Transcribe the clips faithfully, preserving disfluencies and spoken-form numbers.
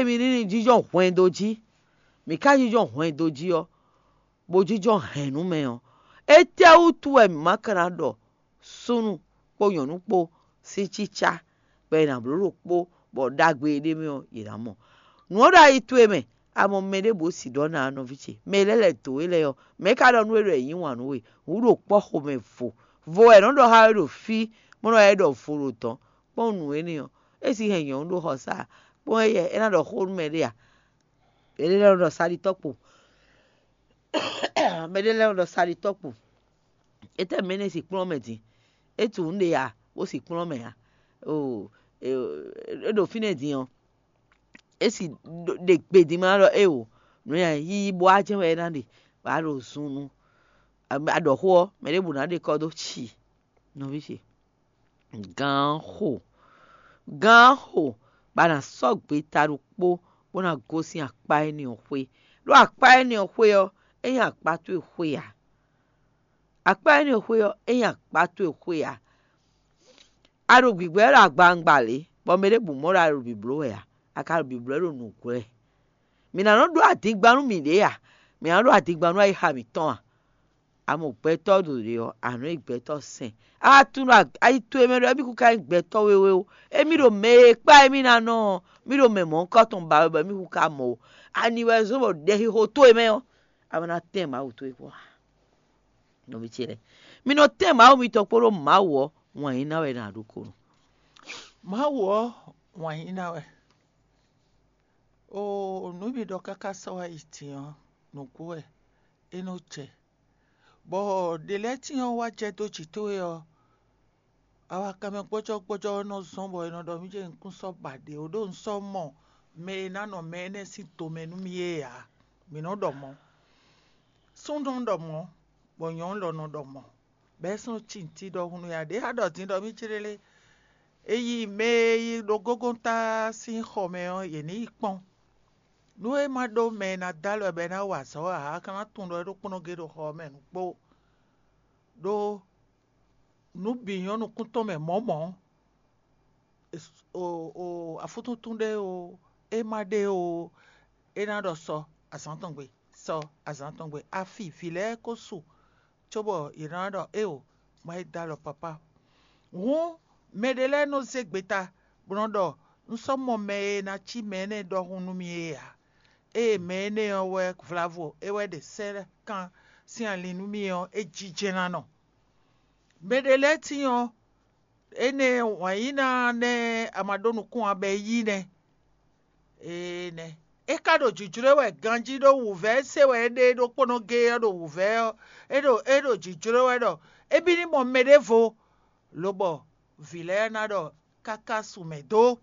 mi ní ní jínjɔ́n hwɛndo jí, mǐ ka jínjɔ́n hwɛndo jí ɔ́, bó jínjɔ́n hɛ̌nnu mɛ ɔ́, étɛ́wútu wɛ mǐ ma ka ná ɖɔ súnnu kpó nyɔ̌nu kpó sín cícá bɔ è nǎ bló ɖokpó, bɔ ɖagbe e ɖ'é mɛ ɔ́, yě ná mɔ. Nǔ ɔ́ ɖo ayi towe mɛ, a mɔ mɛ ɖěbǔ si ɖɔ ná nɔví ce, mɛ lɛ́ lɛ̌ dǒ we lɛ́ɛ ɔ́, mɛ̌ ka ɖɔ nú we ɖɔ è yǐ wǎn nú we? Wǔ ɖo kpɔ́ xomɛ vo, vo wɛ è nɔ ɖɔ xá we ɖo fí, bó nɔ wá yi ɖɔ vo ɖo dɔ̌n. Kpɔ́n nǔ énɛ́ ɔ́, é sixɛn nyɔ̌nu ɖo xɔsa, kpɔ́n éyɛ́ é ná ɖɔ xó nú mɛ ɖé a? Mɛɖé lɛ́ɛ nɔ ɖɔ saɖitɔ́ kpo, mɛɖé lɛ́ɛ nɔ ɖɔ saɖitɔ́ kpo. Étɛ́ mɛ énɛ́ si kplɔ́n mɛ din? É tunwun nǔɖé a, bó si kplɔ́n mɛ a? Oo, é ɖo fínɛ́ din ɔ́, é si ɖe gbe din ma ɖɔ éwo, nǔ ya yíyí bó wá jɛ́n wɛ é ná ɖe, bɔ a ɖo zun nú a ɖɔ xó ɔ́, mɛ ɖěbǔ ná ɖe kɔ́ dó ci nɔví ce. Gǎn xo, gǎn xo, bɔ a nǎ sɔ́ gbeta ɖokpó bó ná gosín akpá énɛ́ ɔ́ xwé. Ɖó akpá énɛ́ ɔ́ xwé ɔ́, é nyí akpá towe xwé ǎ. Akpá énɛ́ ɔ́ xwé ɔ́, é nyí akpá towe xwé ǎ. A ɖo gbǐgbɔ́ wɛ ɖo agbawungba lě, bɔ mɛ ɖěbǔ mɔ ɖɔ a ɖo bǐbló wɛ ǎ; a ka ɖo bǐbló wɛ ɖo nǔgbó wɛ. Mǐ ná nɔ ɖó adingban nú mǐɖée a? Mǐ ná ɖó adingban nú ayixa mǐtɔn a? A mɔ gbɛtɔ́ ɖo ɖě ɔ́, a nɔ nyí gbɛtɔ́ sɛn. A wá tunwun ɖɔ ayi towe mɛ ɖɔ émí kún ka nyí gbɛtɔ́ wéwé ó. Émí ɖo mɛ e kpá émí ná nɔ ɔ́, mí ɖo mɛ mɔ̌hunkɔtɔn ba wɛ bɔ émí kún ka mɔ ó. Ani wɛ zɔ́n bɔ ɖɛxixo towe mɛ ɔ́, a ma ná tɛ́n Mawu towe kpɔ́ a? Nɔví ce lɛ́ɛ, mi nɔ tɛ́n Mawu mitɔn kpódó Mawu ɔ́, wǎn yíyí ná wɛ è nǎ ɖó kónɔ. Mawu ɔ́, wǎn yíyí ná wɛ. Oo, nǔ e mi ɖɔ káká sɔ́ wá yi din ɔ́, nǔgbó wɛ é nɔ jɛ. Bɔ ɖě lɛ́ɛ tíin ɔ́ wá jɛ dó jǐ towe ɔ́, awakanmɛ gbɔ́jɔ́gbɔ́jɔ́ ɔ́ nɔ zɔ́n bɔ è nɔ ɖɔ mì jɛ un kún sɔ́ ba ɖě ó, ɖó un sɔ́ mɔ mɛ e ná nɔ mɛ énɛ́ sín tomɛ nú mì é ǎ. Mǐ nɔ ɖɔ mɔ̌. Súnnu nɔ ɖɔ mɔ̌, bɔ nyɔ̌nu lɔ nɔ ɖɔ mɔ̌. Bɔ é sɔ́ nɔ cí nǔtí ɖɔhun nú ya ɖě a ɖɔ din ɖɔ mì céɖélé. È yi mɛ e yi ɖo gógóntá sín xɔ mɛ ɔ́, yě ní yi kpɔ́n. Nú é ma ɖó mɛ e ná dó alɔ bɔ é ná wa azɔ̌ ǎ, a ka ná tunwun ɖɔ é ɖó kplɔ́n gé ɖo xɔ ɔ́ mɛ nǔgbó. Ɖó nǔ bǐ nyɔ́ nukún tɔn mɛ mɔ̌ mɔ̌. Afúntúntún ɖé o, é ma ɖé o, é ná ɖɔ sɔ azǎn tɔn gbe, sɔ azǎn tɔn gbe. Afi vǐ lɛ́ɛ ko su cóbɔ yě ná ɖɔ éeǒ, má yi dó alɔ papá. Hǔn mɛɖé lɛ́ɛ nɔ zé gbeta bó nɔ́ ɖɔ: Un sɔ́ mɔ mɛ e ná cí mɛ énɛ́ ɖɔhun nú mì é ǎ. Ée mɛ énɛ́ ɔ́ wɛ vlavo é wɛ ɖe sɛ́ kan sín alin nú mì ɔ́, é jínjɛ́n ná nɔ. Mɛɖé lɛ́ɛ tíin ɔ́, énɛ́ wǎn yíyí ná nɛ́ a ma ɖó nukún ǎ bɔ é yí nɛ́. Énɛ́ é ka ɖo jǐjlɔ́ wɛ ganjí ɖó wǔvɛ́ se wɛ é ɖe ɖokpónɔ géé ɔ́ ɖo wǔvɛ́ ɔ́, é ɖo é ɖo jǐjlɔ́ wɛ ɖɔ é bí ní mɔ mɛɖěvo, lobɔ vǐ lɛ́ɛ ná ɖɔ káká su mɛ dó.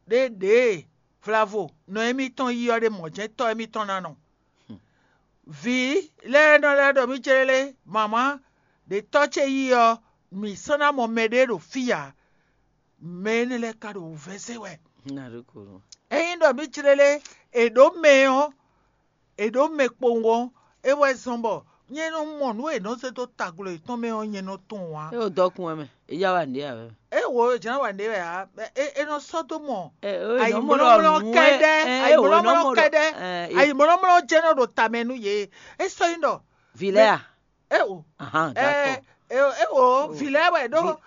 Ɖěɖěe vlavo nɔ émítɔn yí ɔ́ ɖe mɔ̌ jɛ́n tɔ́ émítɔn ná nɔ. Vǐ lɛ́ɛ nɔ lɛ́ ɖɔ mì céɖélé: Mama, ɖě tɔ́ ce yí ɔ́, mǐ sɔ́ ná mɔ mɛɖé ɖo fí ǎ. Mɛ énɛ́ lɛ́ɛ ka ɖo wǔvɛ́ se wɛ. Ényí ɖɔ mǐ clélé è ɖǒ mɛ ɔ́, è ɖǒ mɛ kpowun ɔ́, é wɛ zɔ́n bɔ nyɛ nɔ mɔ nǔ e è nɔ zé dó taglǒ yětɔn mɛ ɔ́, nyɛ nɔ tunwun ǎ. É ɖo dɔkun wɛ mɛ, é já wa nǔɖé ǎ wɛ. É wo jǎn wa nǔɖé wɛ ǎ, é é nɔ sɔ́ dó mɔ ayǐmlɔ́mlɔ́ kɛ́ɖɛ́, ayǐmlɔ́mlɔ́ kɛ́ɖɛ́, ayǐmlɔ́mlɔ́ jɛ́n nɔ ɖo tamɛ nú yě. É sɔ́ nyí ɖɔ vǐ lɛ́ɛ a? É o. Ahan, ɛ d'accord. Ɛ o, é o, vǐ lɛ́ɛ wɛ ɖó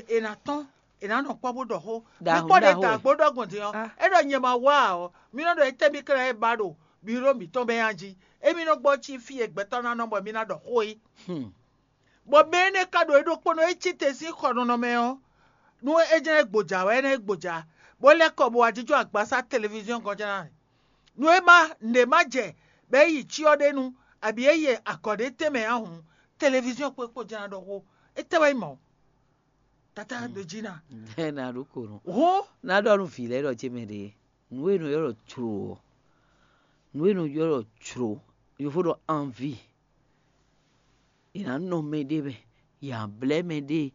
è nǎ tɔ́n, è nǎ nɔ kpɔ́ bó ɖɔ xó. Mí kpɔ́ ɖe da gbó ɖɔ gbɔn din ɔ́, é ɖɔ nyɛ ma wá ǎ ɔ́, mí nɔ ɖɔ étɛ́ mí kɛ́ ná é ba ɖo biro mǐtɔn bɛ́ nya jí. Émí nɔ gbɔ cí fí e gbɛtɔ́ ná nɔ bɔ mí ná ɖɔ xó é. Bɔ mɛ énɛ́ ka ɖo é ɖokpónɔ é cí te sín xɔ nɔnɔ mɛ ɔ́, nú é jɛ́n é gbǒjǎ wɛ é ná é gbǒjǎ, bó lɛ́ kɔ bó wá jínjɔ́n agbasá televíziɔ́n gɔ́n jɛ́n ná. Nú é má nǔɖé má jɛ, bɔ é yi cyɔ ɖé nu, abǐ é yi agɔ̌ ɖé tɛnmɛ ǎ hǔn, televíziɔ́n kpó kpó jɛ́n ná ɖɔ xó. Étɛ́ wɛ nyí mɔ̌? Tata ɖo jí ná. Ná ɖó kò nɔ. Hó. Ná ɖɔ nú vǐ lɛ́ɛ ɖɔ ce mɛ ɖě, nǔ e nɔ ylɔ́ ɖɔ jlǒ ɔ́, nǔ e nɔ ylɔ́ ɖɔ jlǒ, yovo ɖɔ anvi. È nǎ nɔ mɛɖé mɛ, yě nǎ blɛ́ mɛɖée.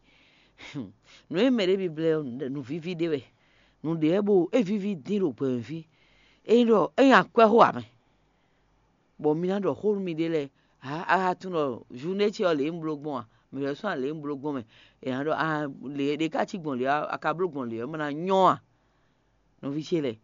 Nǔ e mɛɖé bi blɛ́ ɔ́, nǔ víví ɖé wɛ. Nǔɖé wɛ bó é víví dín ɖo gbɛmɛ fí. É nyí ɖɔ é nyí akwɛ́ xó ǎ mɛ. Bɔ mi ná ɖɔ xó nú miɖée lɛ́ɛ, ǎ a ka tunwun ɖɔ journée ce ɔ́ lě e un bló gbɔn a? Mǐ lɛ́ sɔ́ ǎ lě e un bló gbɔn mɛ. È nǎ ɖɔ a lě e ɖě ka cí gbɔn lě ɔ́, a ka bló gbɔn lě ɔ́, é ma ná nyɔ́ a? Nɔví ce lɛ́ɛ,